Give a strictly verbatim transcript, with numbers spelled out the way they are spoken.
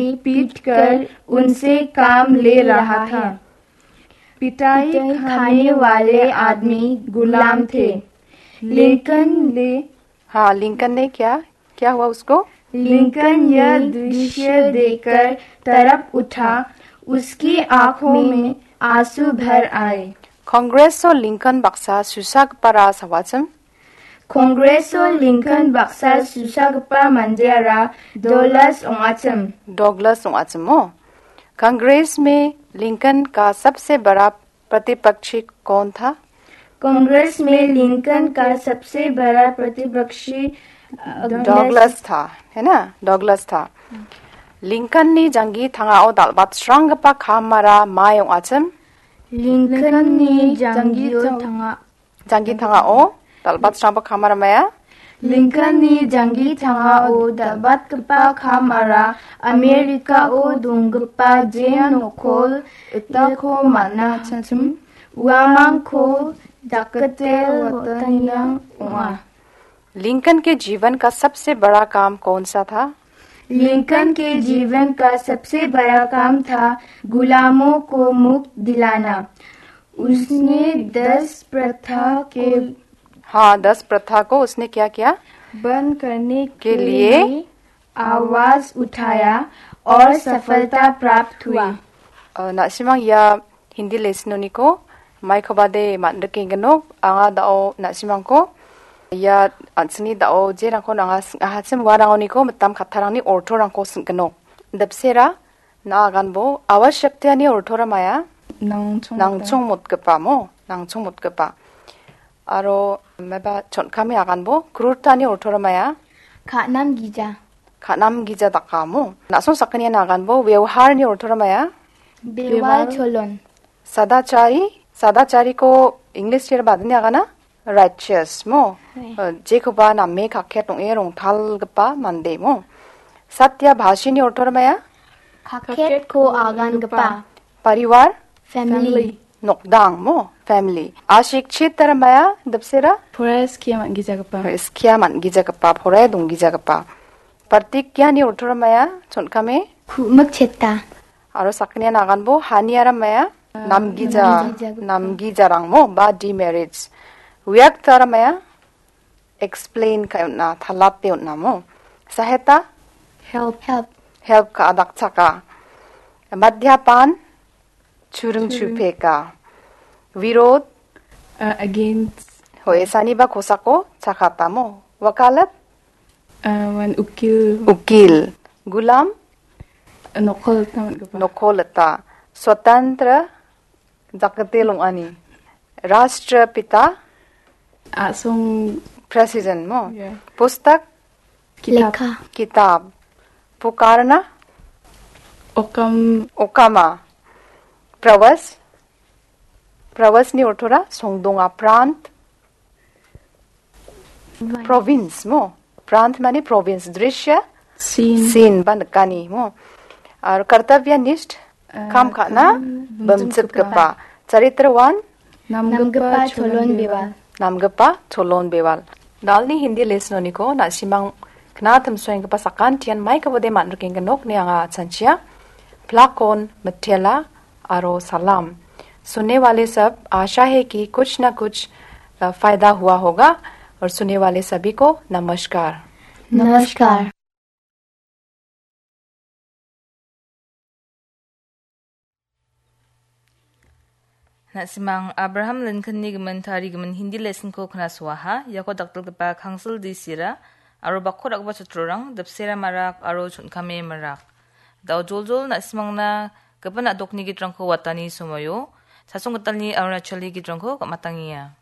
पीट कर उनसे काम ले रहा था। पिटाई खाने वाले आदमी गुलाम थे। लिंकन ने हाँ, लिंकन ने क्या, क्या हुआ उसको? लिंकन यह दृश्य देखकर तड़प उठा। उसकी आंखों में आंसू भर आए। Kongreso Lincoln baksa susagipara sawachim? Kongreso Lincoln baksa susagipa mandeara Douglas ong·achim. Douglas ong·achim mo? Congress में लिंकन का सबसे बड़ा प्रतिपक्षी कौन था? कांग्रेस में लिंकन का सबसे बड़ा प्रतिपक्षी, अ, डगलस था, है ना? डगलस था। लिंकनni janggi tangao dal·batsranggipa kamara mai ong·achim? लिंकननि जांगियो थांगा। Janggi tangao dal·batsranggipa kamara maia? लिंकननि जांगि थांगाओ दलबातकपा खाम आरा अमेरिकाओ दुंगपा जेन नोखोल इताखो माना छाछम उआमांखो जाकते वतनियां उआ। लिंकन के जीवन का सबसे बड़ा काम कौन सा था? लिंकन के जीवन का सबसे बड़ा काम था गुलामों को मुक्त दिलाना। उसने दस प्रथा को हाँ, दस प्रथा को उसने क्या किया? बंद करने के लिए आवाज उठाया और सफलता प्राप्त हुई। अ, na·simang ia Hindi lesson-oniko maikobade man·rikenggino, anga da·o na·simangko ia an·chingni da·o jerangko nanga sing·ahachim uarangoniko mitam kattarangni ortorangko sing·gino. Dipsera, na aganbo, awas shaktiani ortora maia? Nangchong Nangchong motgipa mo, nangchong motgipa. Aro meba chon·kame aganbo, krurtani ortora maia? Ka·nam gija. Ka·nam gija dakamo. Na·song sakgniani aganbo, vioharni ortora maia? Bewal cholon. Sadachari, sadachariko English-ira badini agana? Righteous mo. Right. Eh, jekoba name kaket ong·e rongtalgipa mande mo. Satya bhashini ortora maia? Kaketko agangipa. Parivar? Family. Nokdang mo, family. Ashikchitara maia, dipsera? Porai skia man·gijagipa. Skia man·gijagipa, porai donggijagipa. Pratigyani ortora maia, chon·kame? Ku·mikcheta. Aro sakgnian aganbo, haniara maia? Ah, namgija, namgijagipa. Namgijarang mo, ba demerits. Viaktara maia? Explain ka·e on·a, talate on·a mo. Saheta? Help. Help. Help ka·a, dakchaka. Madhyapan? Churing chupeka. Virod? Uh, against. Hoe, saniba kosako chakata mo. Wakalat? Uh, wan ukil. Ukil. Gulam? Uh, nokol tamat gapa. Nokol eta. Swatantra? Jakate long·ani. Rashtrapita? A·song. President mo? Yeah. Pustak? Kitab. Lekha. Kitab. Pukarna? Okam. Okama. Prawas? Prawasni ortora songdonga. Prant? Province mo. Prant mane province. Drishya? Scene. Scene ba nikani mo. Aro kartavya nisht? Eh, kam ka·na kam bimchitgipa. Bimchitgipa. Charitrawan? Namgipa cholon bewal. Namgipa cholon bewal. Dalni Hindi lesson-oniko na·simang knatimsoenggipa sakantian maikabode man·rikenggin nokni anga chanchia. Plakon, mitela, aro salam. सुनने वाले सब, आशा है कि कुछ ना कुछ, अ, फायदा हुआ होगा और सुनने वाले सभी को नमस्कार। नमस्कार। Na·simang Abraham Lincoln-ni gimin tarigimin Hindi lesson-ko knasoaha, iako dakdalgipa Kangsil D C-ra aro bakko ra·gipa chotrorang, dipsera marak aro chon·kame marak. Da·o joljol na·simangna gipin a·dokni gitrangko watani somoio, chasong gitalni Arunachali gitrangko gam·atangenga.